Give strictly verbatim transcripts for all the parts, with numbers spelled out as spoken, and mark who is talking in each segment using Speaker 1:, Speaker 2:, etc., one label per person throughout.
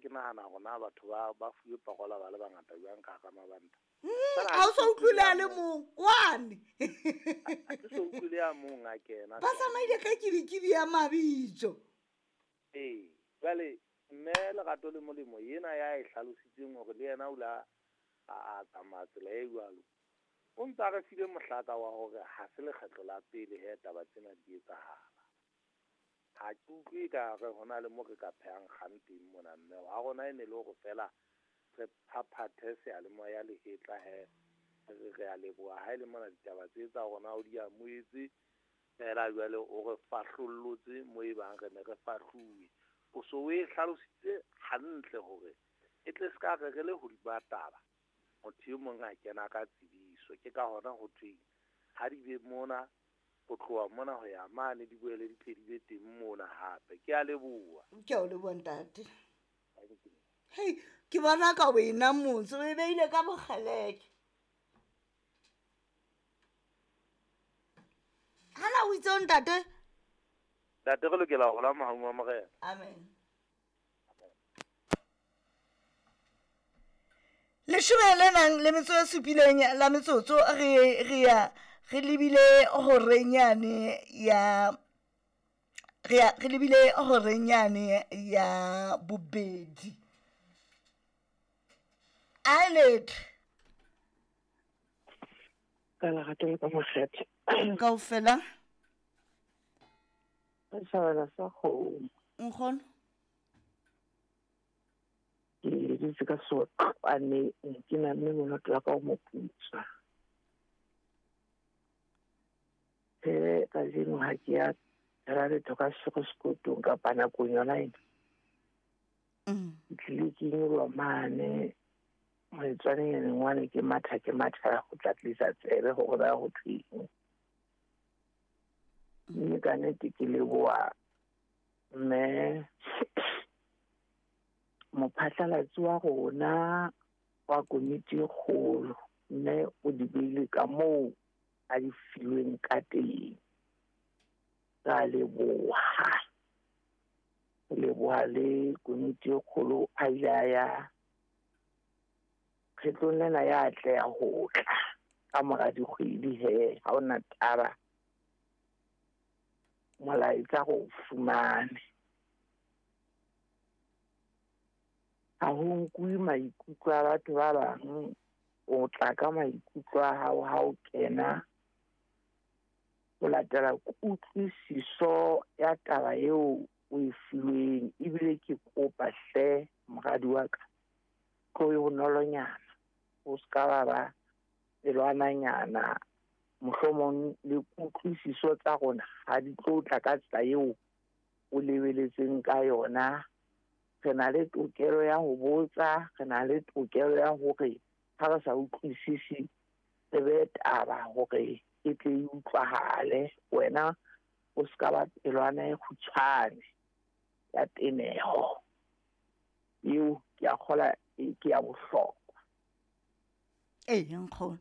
Speaker 1: ke nahana hore na batho ba ba fuwe parola ba le bangata jwang ka hara mabanta.
Speaker 2: Ha o so utlwile a le mong wane.
Speaker 1: Ha ke so utlwile a mong a kena.
Speaker 2: Ba tsamaile ka kibikibi ya mabitso.
Speaker 1: Ee, jwale mme Lerato le Molemo yena ya e hlalositseng hore le yena o la a tsamaya tsela e jwalo. O ntse a re file mohlaka wa hore ha se lekgetlo la pele he taba tsena di etsahala. Ha ke utlwe ka re hona le mo re ka phehang kgang teng mona mme wa rona e ne le hore fela re phaphathe seyalemoya lehetla he re re a leboha ha e le mona ditaba tse tsa rona o di amohetse fela jwale o re fahlollotse mo e bang re ne re fahluwe. O so o e hlalositse hantle hore e tle se ka re re le hodima taba motho e mong a kena ka tsebiso. Ke ka hona ho thweng ha di be mona ho tloha mona ho ya mane di boele di tle di be teng mona hape. Ke a leboha.
Speaker 2: Ke a o leboha ntate. Hei, ke bona ka wena motse o e beile ka bokgeleke. Hana o itse ntate?
Speaker 1: Ntate re lokela ho hola mohaung wa Morena.
Speaker 2: Amen. Leshome le nang le metso e supileng la metsotso re re ya re lebile horeng yane ya re ya re lebile horeng yane ya bobedi. Alet.
Speaker 3: Ka lerato le ka mokgetho.
Speaker 2: Kaofela.
Speaker 3: Setjhabana sa kgomo.
Speaker 2: Nkgono.
Speaker 3: Ke dutse ka sotlwane ke namme monate wa ka o moputswa. He kajeno ha ke ya tshela letho ka sego sekotong kapa nakong yona ena. Ke tlile ke nyoloha mane moetswaneng wane ke matha ke matha go tla tlisa tsebe hore ba ho thweng. Mme ka nnete ke leboha mme mophatlalatsi wa rona wa komiti e kgolo mme o di beile ka moo a di filweng ka teng. Ka leboha. Leboha le komiti e kgolo a ile a ya kgetlong lena ya atleha ho tla ka mora dikgwedi he ha hona taba molaetsa go fumane. Ha ho nkuwe maikutlo a batho ba bang, o tla ka maikutlo a hao ha o kena ho latela kutlwisiso ya taba eo o e filweng. Ebile ke kopa hle moradi wa ka tlo e bonolonyana, o ska ba ba pelwananyana, mohlomong le kutlwisiso tsa rona ha di tlo tla ka tsela eo o lebeletseng ka yona. Re na le tokelo ya ho botsa, re na le tokelo ya hore ha re sa utlwisisi re be taba hore e tle e utlwahale. Wena o ska ba pelwana e kgutshwane ya teneho eo ke a kgola ke ya bohlokwa.
Speaker 2: Ee, nkgono.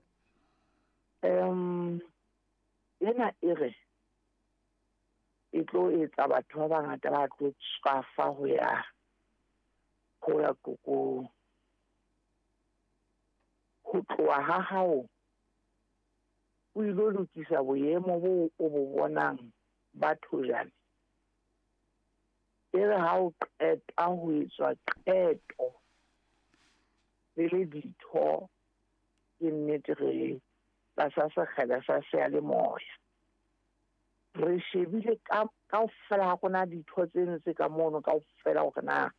Speaker 3: Um ena e re e tlo etsa batho ba bangata ba tlo tswafa ho ya ho ya kokong. Ho tloha ha hao o ilo lokisa boemo bo o bo bonang ba thojane. E re ha o qeta ho etswa qeto le le ditho, ke nnete re tlasa sekgele sa seyalemoya. Re shebile ka kaofela ha rona ditho tseno tse ka mono kaofela hore na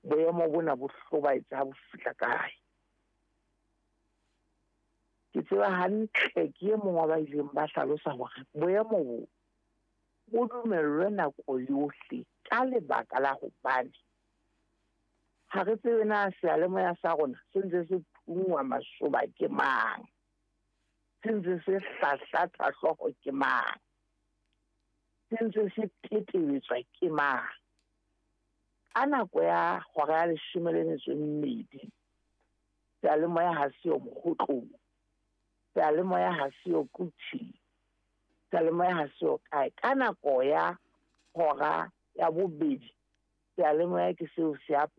Speaker 3: boemo bona bo hlobaetsa ha bo fihla kae. Ke tseba hantle ke e mong wa ba ileng ba hlalosa hore boemo bo bo dumellwe nako yohle ka lebaka la hobane ha re tsebe na seyalemoya sa rona se ntse se phunngwa masoba ke mang, se ntse se hlahlatha hlooho ke mang, se ntse se tetebetswa ke mang. Ka nako ya hora ya leshome le metso e mmedi seyalemoya ha se yo mokgotlong, seyalemoya ha se yo Kuting, seyalemoya ha se yo kae. Ka nako ya hora ya bobedi seyalemoya ke seo se a